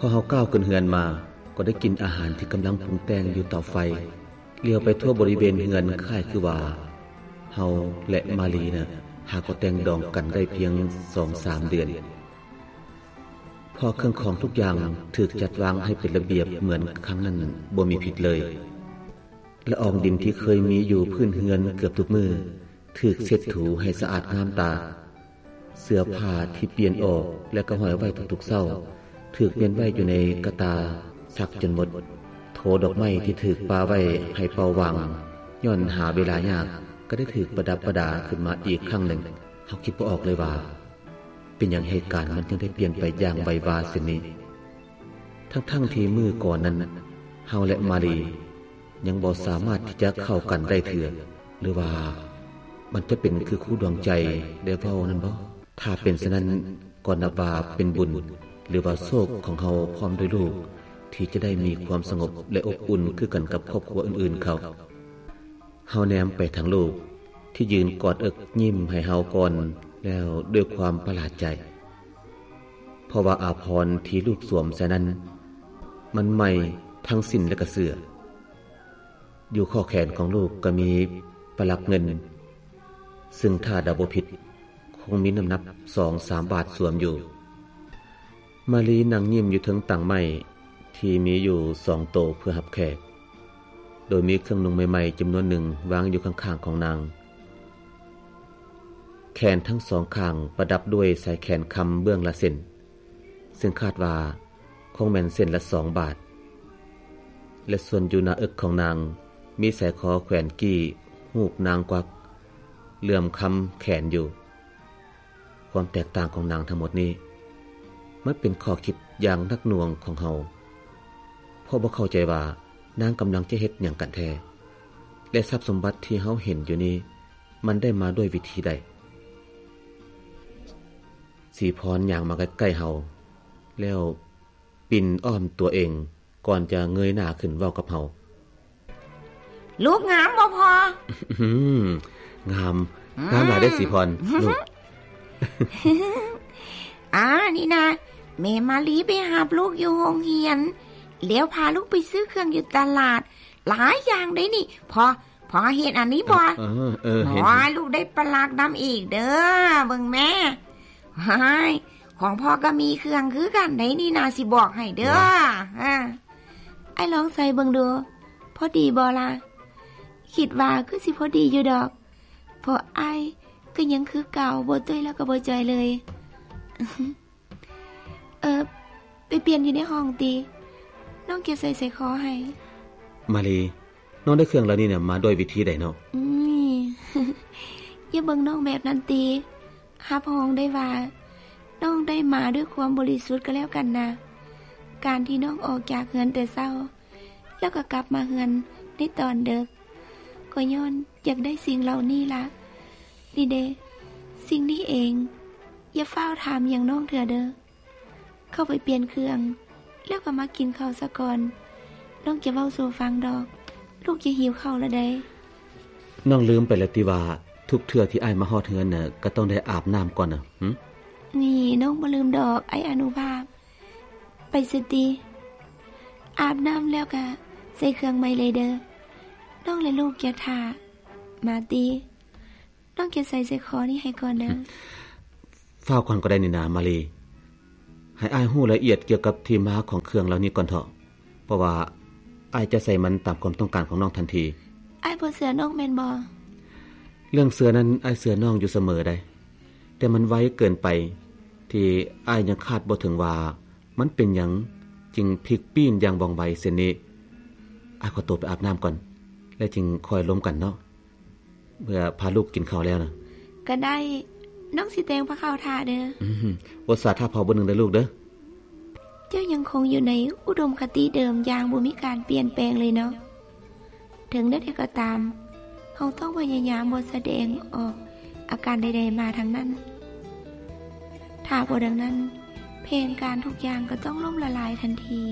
ພໍເຮົາກ້າວຂຶ້ນເຮືອນມາ ກໍໄດ້ກິ່ນອາຫານທີ່ກຳລັງປຸງແຕ່ງຢູ່ເຕົາໄຟ. ຫຼຽວໄປທົ່ວບໍລິເວນເຮືອນ ຄ້າຍຄືວ່າເຮົາ ແລະ ມາລີນະ ຫາກໍແຕ່ງດອງກັນໄດ້ພຽງສອງສາມເດືອນ. ເພາະເຄື່ອງຂອງທຸກຢ່າງຖືກຈັດວາງໃຫ້ເປັນລະບຽບເໝືອນຄັ້ງນັ້ນບໍ່ມີຜິດເລີຍ. ລະອອງດິນທີ່ເຄີຍມີຢູ່ພື້ນເຮືອນເກືອບທຸກມື້ ຖືກເຊັດຖູໃຫ້ສະອາດງາມຕາ. ເສື້ອຜ້າທີ່ປ່ຽນອອກ ແລະ ກໍຫ້ອຍໄວ້ທຸກໆເຊົ້າ ຖືກມ້ຽນໄວ້ຢູ່ໃນກະຕ່າຊັກຈົນໝົດ. ໂທດອກໄມ້ທີ່ຖືກປະໄວ້ໃຫ້ເປົ່າຫວ່າງ ຍ້ອນຫາເວລາຍາກ ກໍໄດ້ຖືກປະດັບປະດາຂຶ້ນມາອີກຄັ້ງໜຶ່ງ. ເຮົາຄິດບໍ່ອອກເລີຍວ່າ ເປັນຫຍັງເຫດການມັນຈຶ່ງໄດ້ປ່ຽນໄປຢ່າງໄວວາເຊັ່ນນີ້ ທັງໆທີ່ມື້ກ່ອນນັ້ນ ເຮົາ ແລະ ມາລີ ຍັງບໍ່ສາມາດທີ່ຈະເຂົ້າກັນໄດ້ເທື່ອ. ຫຼືວ່າມັນຈະເປັນຄືຄູດວງໃຈໄດ້ເວົ້ານັ້ນບໍ? ຖ້າເປັນເຊັ່ນນັ້ນ ກໍນັບວ່າເປັນບຸນ ຫຼືວ່າໂຊກຂອງເຮົາພ້ອມດ້ວຍລູກ ທີ່ຈະໄດ້ມີຄວາມສະຫງົບ ແລະ ອົບອຸ່ນຄືກັນກັບຄອບຄົວອື່ນໆເຂົາ. ເຮົາແນມໄປທາງລູກທີ່ຢືນກອດເອິກຍິ້ມໃຫ້ເຮົາກ່ອນ ແລ້ວດ້ວຍຄວາມປະຫຼາດໃຈ ເພາະວ່າອາພອນທີ່ລູກສວມໃສ່ນັ້ນ ມັນໃໝ່ທັງສິ້ນ ແລະ ກະເສື້ອ. ຢູ່ຂໍ້ແຂນຂອງລູກກໍມີປະຫຼັກເງິນ ຊຶ່ງຖ້າເດົາບໍ່ຜິດ ຄົງມີນ້ຳໜັກສອງສາມບາດສວມຢູ່. ມາລີນັ່ງຍິ້ມຢູ່ເທິງຕັ່ງໄມ້ທີ່ມີຢູ່ສອງໂຕເພື່ອຮັບແຂກ ໂດຍມີເຄື່ອງນຸ່ງໃໝ່ໆຈຳນວນໜຶ່ງວາງຢູ່ຂ້າງໆຂອງນາງ. ແຂນທັງສອງຂ້າງປະດັບດ້ວຍສາຍແຂນຄຳເບື້ອງລະເສັ້ນ ຊຶ່ງຄາດວ່າຄົງແມ່ນເສັ້ນລະສອງບາດ ແລະ ສ່ວນຢູ່ໜ້າເອິກຂອງນາງ ມີສາຍຄໍແຂວນກີ້ຮູບນາງກວັກເຫຼື້ອມຄຳແຂນຢູ່. ຄວາມແຕກຕ່າງຂອງນາງທັງໝົດນີ້ ມັນເປັນຂໍ້ຄິດຢ່າງໜັກໜ່ວງຂອງເຮົາ ເພາະບໍ່ເຂົ້າໃຈວ່ານາງກຳລັງຈະເຮັດຫຍັງກັນແທ້ ແລະ ຊັບສົມບັດທີ່ເຮົາເຫັນຢູ່ນີ້ ມັນໄດ້ມາດ້ວຍວິທີໃດ? ສີພອນຍ່າງມາໃກ້ໆເຮົາ ແລ້ວປິ່ນອ້ອມຕົວເອງ ກ່ອນຈະເງີຍໜ້າຂຶ້ນເວົ້າກັບເຮົາ. ລູກງາມບໍ່ພໍ່? ອືມ ງາມ ອືມ ງາມຫຼາຍເດ້ສີພອນ ລູກ. ອາ ນີ້ນະ ແມ່ມາລີໄປຮັບລູກຢູ່ໂຮງຮຽນ ແລ້ວພາລູກໄປຊື້ເຄື່ອງຢູ່ຕະຫຼາດ ຫຼາຍຢ່າງເດ້ນີ້. ພໍ່ ພໍ່ເຫັນອັນນີ້ບໍ່? ເອີ ເອີ ເອີ ເຫັນ ໂອ້ຍ ເຫັນ ລູກໄດ້ປະຫຼັກນຳອີກເດີ້ ເບິ່ງແມ້. ຫາຍ ຂອງພໍ່ກໍມີເຄື່ອງຄືກັນໃດນີ້ນະ ຊິບອກໃຫ້ເດີ້. ຫວາ ເອີ ອ້າຍລອງໃສ່ເບິ່ງດູ ພໍດີບໍ່ລະ? ຄິດວ່າຄືຊິພໍດີຢູ່ດອກ ເພາະອ້າຍກໍຍັງຄືເກົ່າ ບໍ່ຕຸ້ຍແລ້ວກໍບໍ່ຈ່ອຍເລີຍ. ເອີ ໄປປ່ຽນຢູ່ໃນຫ້ອງຕິ ນ້ອງຈະໃສ່ສາຍຄໍໃຫ້. ມາລີ ນ້ອງໄດ້ເຄື່ອງເຫຼົ່ານີ້ນະມາດ້ວຍວິທີໃດເນາະ? ອືມ ຢ່າເບິ່ງນ້ອງແບບນັ້ນຕິ ຮັບຮອງໄດ້ວ່າ ນ້ອງໄດ້ມາດ້ວຍຄວາມບໍລິສຸດກໍແລ້ວກັນນະ. ການທີ່ນ້ອງອອກຈາກເຮືອນແຕ່ເຊົ້າ ແລ້ວກໍກັບມາເຮືອນໃນຕອນເດິກ ກໍຍ້ອນຢາກໄດ້ສິ່ງເຫຼົ່ານີ້ລະ. ນີ້ເດ ສິ່ງນີ້ເອງ. ຢ່າຟ້າວຖາມຫຍັງນ້ອງເທື່ອເດີ້. ເຂົ້າໄປປ່ຽນເຄື່ອງ ແລ້ວກໍມາກິນເຂົ້າສາກ່ອນ. ນ້ອງຈະເວົ້າສູ່ຟັງດອກ ລູກຈະຫິວເຂົ້າລະໃດ໋. ນ້ອງລືມໄປແລ້ວຕິວ່າ ທຸກເທື່ອທີ່ອ້າຍມາຮອດເຮືອນນະ ກໍຕ້ອງໄດ້ອາບນ້ຳກ່ອນນະ. ຫຶ? ນີ້ ນ້ອງບໍ່ລືມດອກ ອ້າຍອະນຸພາບ. ໄປຊະຕິ ອາບນ້ຳແລ້ວກະໃສ່ເຄື່ອງໃໝ່ເລີຍເດີ້. ນ້ອງ ແລະ ລູກຈະຖ້າ. ມາຕິ ນ້ອງຈະໃສ່ສາຍຄໍນີ້ໃຫ້ກ່ອນເດີ້. ຟ້າວກ່ອນກໍໄດ້ນີ້ນາ ມາລີ. ໃຫ້ອ້າຍຮູ້ລະອຽດກ່ຽວກັບທີ່ມາຂອງເຄື່ອງເຫຼົ່ານີ້ກ່ອນເຖາະ, ເພາະວ່າອ້າຍຈະໃສ່ມັນຕາມຄວາມຕ້ອງການຂອງນ້ອງທັນທີ. ອ້າຍບໍ່ເຊື່ອນ້ອງແມ່ນບໍ່? ເລື່ອງເຊື່ອນັ້ນ ອ້າຍເຊື່ອນ້ອງຢູ່ສະເໝີໃດ໋, ແຕ່ມັນໄວເກີນໄປ ທີ່ອ້າຍຍັງຄາດບໍ່ເຖິງວ່າ ມັນເປັນຫຍັງຈຶ່ງພລິກປີ້ນຢ່າງວ່ອງໄວເຊັ່ນນີ້. ອ້າຍຂໍຕົວໄປອາບນ້ຳກ່ອນ ແລ້ວຈຶ່ງຄ່ອຍລົມກັນເນາະ. ເມື່ອພາລູກກິນເຂົ້າແລ້ວນະ. ກໍໄດ້, ນ້ອງຊິແຕ່ງພາເຂົ້າຖ້າເດີ້. ອືມ, ອົດສາຖ້າພໍ່ບໍ່ໜຶ່ງເດີ້ລູກເດີ້. ເຈົ້າຍັງຄົງຢູ່ໃນອຸດົມຄະຕິເດີມຢ່າງບໍ່ມີການປ່ຽນແປງເລີຍເນາະ. ເຖິງແນວໃດກໍຕາມ, ເຮົາຕ້ອງພະຍາຍາມບໍ່ສະແດງອອກອາການໃດໆມາທັງນັ້ນ. ຖ້າບໍ່ດັ່ງນັ້ນ, ແຜນການທຸກຢ່າງກໍຕ້ອງລົ້ມລະລາຍທັນທີ.